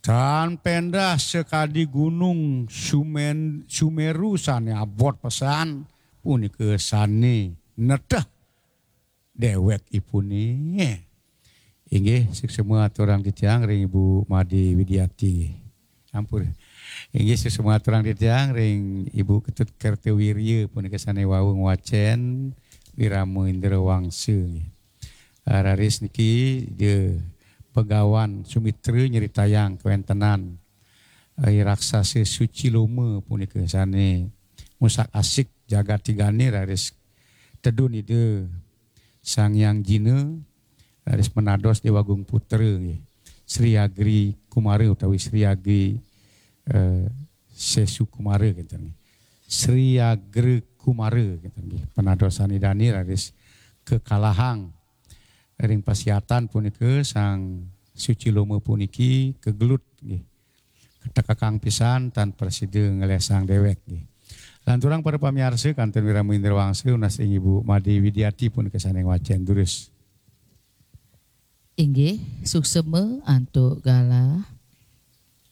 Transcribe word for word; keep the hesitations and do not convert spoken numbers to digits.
Tan pendah sakadi gunung Sumen, Sumeru sane abot pesan, punika sane nedeh dewekipune. Inggih, suksma aturang titiang ring Ibu Made Widiati. Ampun. Inggih, suksma aturang titiang ring Ibu Ketut Kertawirya punika sane wau ngwacen Wirama Indra Wangsa, nggih. Ah, raris niki Ida Begawan Sumitra nyritayang kawentenan, eh, raksasa Suciloma punika sane ngusak-asik jagat tigane raris tedun Ida Sang Hyang Jina, raris menados Dewa Agung Putra, nggih. Sri Agri Kumara utawi Sri Agri, eh, Sesu Kumara, kinten, nggih. Sri Agri Kumara, kinten, nggih. Penadosan Idane raris kakalahang ring pasiatan punika Sang Suciloma puniki kagelut, nggih. Katekekang pisan tan prasida nglesang dewek, nggih. Lanturang para pamiarsa, kantun Wirama Indra Wangsa nunas ring Ibu Made Widiati punika sane ngwacen durus. Inggih, suksma antuk galah.